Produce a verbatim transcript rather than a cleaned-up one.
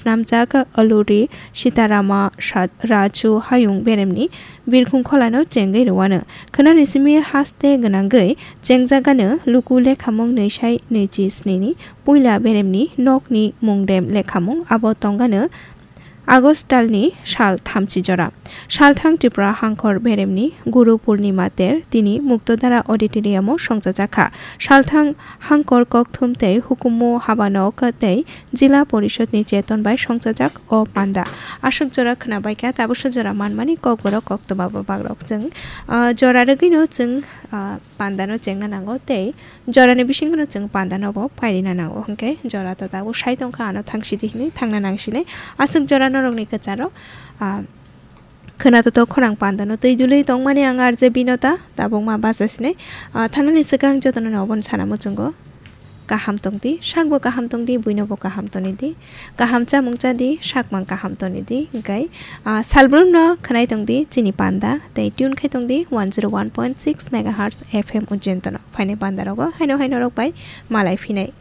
Namjak Aluri Sitarama Sha-, Raju Hayung beremni birkhung kholano chengwi rwano. Khwnani simi haste gwnangwi chengjagano luku lekhamung nwi sai nwi chi sni ni puila beremni nokni mungdem lekhamung abo tongano August talni sal thamchi jora. Salthang Tripura Hangkor beremni Guru Purnima ter tini Muktodara Auditorium-o songchajakha. Salthang Hangkor kokthum tei hukumu habanok tei Jila Porishod ni cheton bai songchajak o panda. Aswk jora khwnabaikha, tabuksa jora manmani kokborok koktwma bo bagrok chwng, ah, jora rwgwino chwng, ah, pandano chengna nango tei jorani bisingono chwng pandano bo pairina nango. Hwnkhe jora to tabuk sai tongkha, ano thangsidi hinwi thangna nangsinai. Aswk jora norokni kwcharo, ah, khwnato to khorang pandano twi dulwi tongmani ang R J Binota, tabukma bachasinai. Ah, thanani swkang jotono obono sana muchungo. Kaham tongdi, sakbo kaham tongdi, buinobo kaham tongdi, kaham chamung chadi, sakmang kaham tongdi, hwnkhe, ah, salbrumno khwnai tongdi, chini panda, tei tune khai tongdi one zero one point six megahertz F M Ujjayantano. Phainai pandarogo haino haino rok bai malai phinai.